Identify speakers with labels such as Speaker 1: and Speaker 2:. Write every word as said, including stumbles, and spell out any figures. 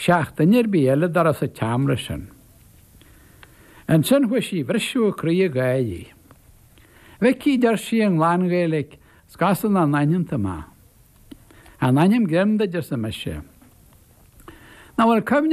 Speaker 1: seacht duine ar bith eile dá raibh sa tseomra sin. Ansin chuaigh sí a bhriseadh a croí ag gáirí. Mhicí deir sí i nglan-Ghaeilge, 's gasta nach n-aithneann tú mé. An ainm greim duit arsa mise. Nach bhfuil cuimhne